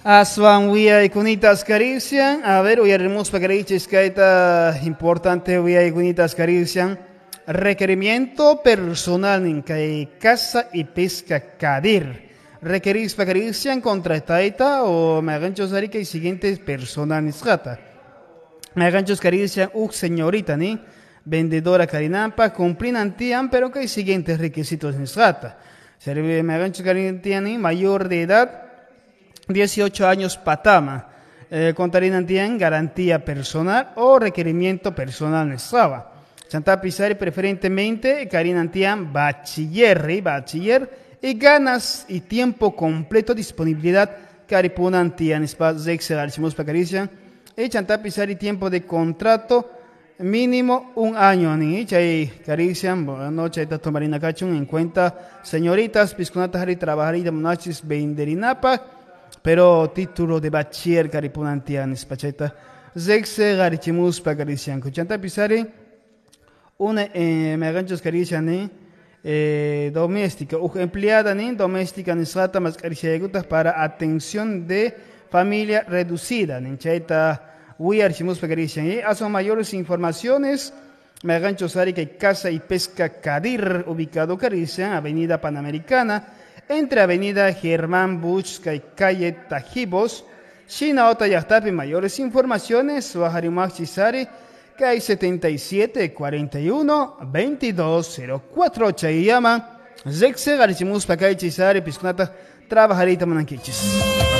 Aswan wiyaykunitas karician. A ver, uyarimuspa karichis kayta importante wiyaykunitas karician. Requerimiento personal en kay Casa y Pesca Kadir. Requerispa karician contrataita o maganchos ari kay siguientes personal nisqata. Maganchos karician uk señorita ni vendedora karinampa cumplinantian pero kay siguientes requisitos nisqata. Serve maganchos karician ni mayor de edad 18 años patama. Contarinantian garantía personal o requerimiento personal nisqawa. Chantapisari preferentemente karinantian bachiller, bachiller y ganas y tiempo completo disponibilidad karipunantian nispa zexe garichimuspa karician y chantapisari tiempo de contrato mínimo un año ni chay karician bueno chayta tomarina kachun en cuenta señoritas piskunata hari trabajarita munachis venderinapa pero título de bachiller karipunantian nispa chayta zexe garichimuspa karician chantapisari una maganchos karician ni doméstica uj empleada ni doméstica nisqata maskariciaykutaq para atención de familia reducida nin chayta wiyarchimuspa karician y aswan mayores informaciones maganchos ari kay Casa y Pesca Kadir ubicado karician Avenida Panamericana entre Avenida Germán Buch kay calle Tajibos Shinaota llaqtapi mayores informaciones waharimaqchisari kay 77 41 22 04 chayllama Zexe garichimuspa kay chisari piskunata trabajarita munankichis.